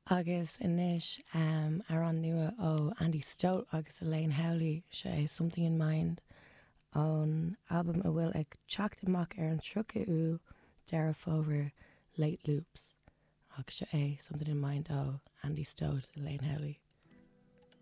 Agus anois, amhrán nua ó Andy Stote agus Elaine Howley, seo é Something in Mind ón albam a bhfuil ag teacht amach ar an 30 ú Deireadh Fómhair, Late Loops. Ach seo é Something in Mind ó Andy Stote, Elaine Howley.